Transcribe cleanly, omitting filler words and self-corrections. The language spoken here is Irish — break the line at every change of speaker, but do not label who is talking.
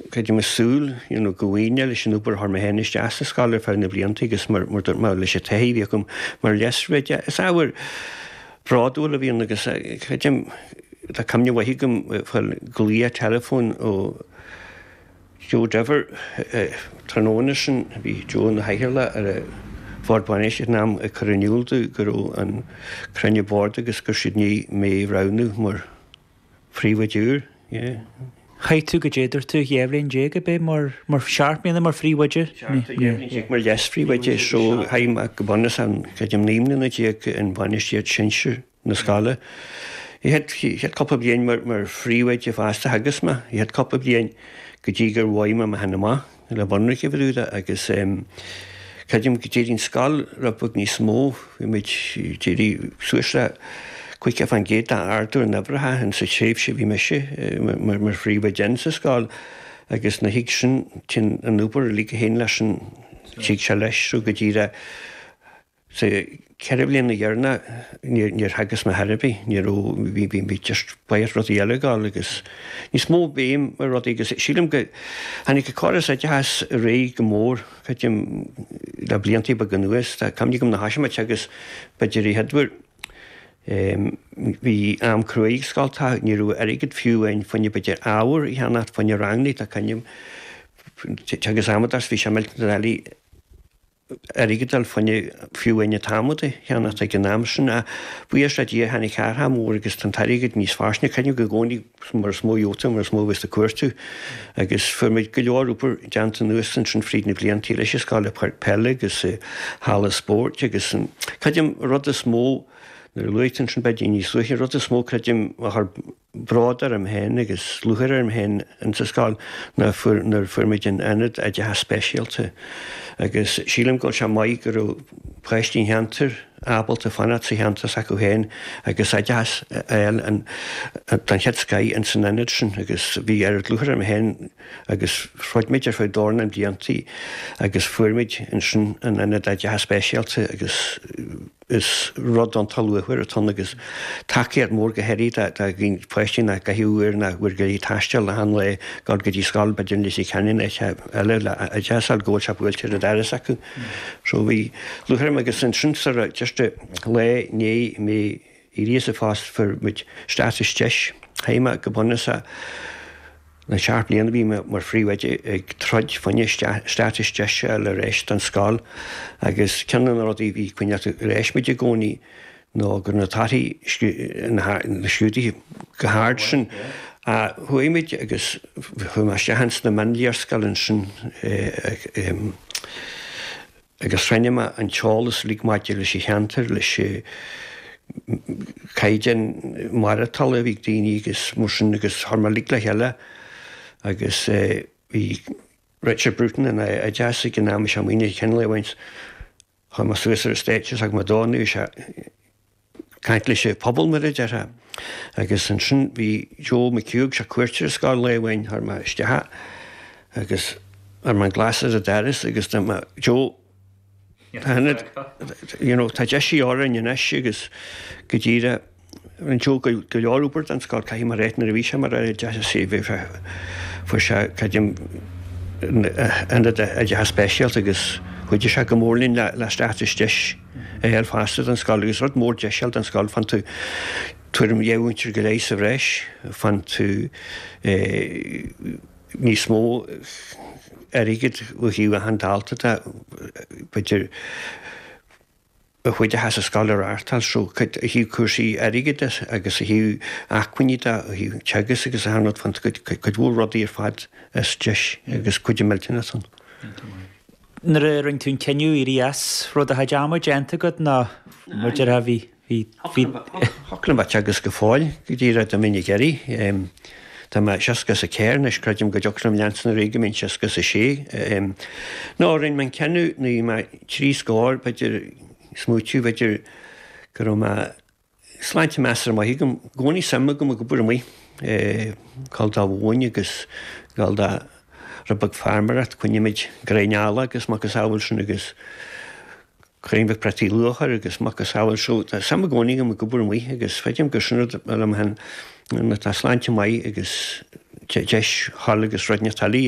Creidim ag súil you know go bhfaoine leis an obair a chuir mé féin isteach sa scoil ar feadh na blianta agus mar mar dúirt mé leis an taithí a bhí agam mar leas-phríomhoide. Is ábhar bródúil a bhí ann agus creidim tá cuimhne mhaith agam fáil glaoch teileafóin ó Joe Diver tráthnóna sin, bhí Joe ina chathaoirleach ar an Bhord Bainistíochta ag an am ag cur in iúl domh go raibh an cruinniú boird agus go raibh siad i ndiaidh mé a roghnú mar Phríomhoide úr, yeah.
Chaith tú goidé dúirt tú, 12 bhliain ab é mar, mar sheacht mbliana mar phríomhoide?
17 bhliain mar leas-phríomhoide so chaith mé go bunúsach, creidim 19 mbliana in bainistíocht sinsir na scoile. An chéad cúpla bliain mar, mar phríomhoide fosta theagasc mé, an chéad cúpla bliain go dtí gur mhothaigh mé mé féin amach. le bunraic a bhrú de agus creidim go d'éirigh an scoil rud beag níos mó, bhí muid, d'éirigh suas le 50% d'ardú ar na huimhreacha in sa tréimhse a bhí mise mar phríomhoide in sa scoil agus ina dhiaidh sin téann an obair uilig a théann leis an, tig sé leis so go díreach. Sa cheithre bliana dheireanach níor theagasc mé chor ar bith, ní raibh, bhí, bhí, bhí just báire rudaí eile ag gabháil agus níos mó béim ar rudaí agus sílim go, tháinig an córas oideachais ar aghaidh go mór, creidim, le blianta beaga anuas, tá cuimhne agam nuair a thoisigh mé ag teagasc b'fhéidir an chéad uair, bhí am cruaidh ag scoltacha, ní raibh airgead fiú amháin fá choinne b'fhéidir ábhar a cheannacht fá choinne ranganna, tá cuimhne agam, teagasc amadás bhí sé millteanach doiligh. airgead a fháil fá choinne fiú amháin an t-adhmad a cheannacht ag an am sin. Ach buíochas le Dia tháinig athrú mór agus tá an t-airgead níos fairsinge. Creidim go gcónaí mar is mó a gheobhaidh tú mar is mó a bheas tú ag cuartú. Agus fuair muid go leor obair déanta anuas ansin fríd na blianta leis an scoil, páirc peile agus halla spóirt agus an, creidim rud is mó nuair a luaigh tú ansin b'fhéidir níos luaithe, rud is mó creidim a chuir bród orm féin agus lúcháir orm féin insa scoil ná fuair, nuair a fuair muid an Ionad Oideachais Speisialta agus sílim go bhfuil sé maith go raibh páistí an cheantair ábalta fanacht sa cheantar s'acu féin agus oideachas a fháil den chéad scoith ins an ionad sin agus bhí oiread lúcháir orm féin agus throid muid ar feadh dornán bliantaí agus fuair muid ansin an Ionad Oideachais Speisialta agus Is rud iontach luachmhar atá ann agus tacaíocht mhór go háirithe do pháistí nach gcaithfidh uair nó uair go leith taisteal achan lá dul go dtí scoil b'fhéidir in Leitir Ceanainn nó áit eile le oideachas a fháil go bhfuil sé buailte ar an doras acu. So bhí lúcháir orm agus ansin sort of just lá i ndiaidh mé éirí as an phost fuair muid stádas deis. Chaith mé go bunúsach Na seacht mbliana a bhí mé mar phríomhoide ag troid fá choinne stádas deis a fháil ar ais don scoil agus ceann de na rudaí a bhí ag coinneáil ar ais muid i gcónaí ná go raibh na torthaí na scrúduithe chomh hard sin. Chuaigh muid agus chuaigh mé isteach ins na mionléarscáil ansin agus chruinnigh mé an t-eolas uilig maidir leis an cheantar, leis an caighdeán maireachtála a bhí ag daoine agus mar sin agus chuir mé uilig le chéile agus bhí Richard Bruton ina oideachas ag an am is é Muine Chinley a bhaint chuir mé suas ar an stáitse is thug mé dó nó sé caint leis an phobal mar a déarfá. Agus ansin bhí Joe McHugh, sé cuairt ar an scoil lá amháin, chuir mé isteach agus chuir mé an glas ar an doras agus dúirt mé, Joe, tá ionad, you know, tá deis orainn anois agus go díreach, rinne Joe go leor obair don scoil, caithfidh mé a ráit, nuair a bhí sé mar Aire Oideachais, bhí sé, fuair sé, creidim, ionad oideachais speisialta agus chuidigh sé go mór linn le stádas deis. a fháil fosta don scoil agus rud mór deis a fháil don scoil, faigheann tú tuairim 12 mhúinteoir go leith sa bhreis, faigheann tú níos mó airgid ó thaobh achan dalta de, b'fhéidir ó thaobh oideachas sa scoil a reáchtáil so ó thaobh cúrsaí airgid de agus ó thaobh acmhainní de, ó thaobh teagasc agus achan rud, faigheann tú cuid mhór rudaí ar fad as deis agus cuidiú millteanach ann.
Nuair a rinne tú an cinneadh éirí as, raibh do chuid ama déanta agat nó mar a déarfá bhí, bhí, bhí.
Thiocfadh liom bheith ag teagasc go fóill go díreach dá mbeinn ag iarraidh. Tá mé 64 anois, creidim go dtiocfadh liom leanstan ar aghaidh go mbeinn 66. No, rinne mé an cinneadh nuair a bhí mé trí scór, b'fhéidir, smaoitiú, b'fhéidir go raibh mé Sláinte measartha maith agam. I gcónaí suim agam ag obair amuigh, gabháil do mhóin agus gabháil do rud beag feirmeoireacht, coinnímid gréin ealla agus macasamhail sin agus crainn bheag préataí luachair agus macasamhail so tá suim i gcónaí agam ag obair amuigh agus feicim gur sin rud liom féin nuair atá sláinte maith agus. deis a ghabháil agus rud inteacht eile.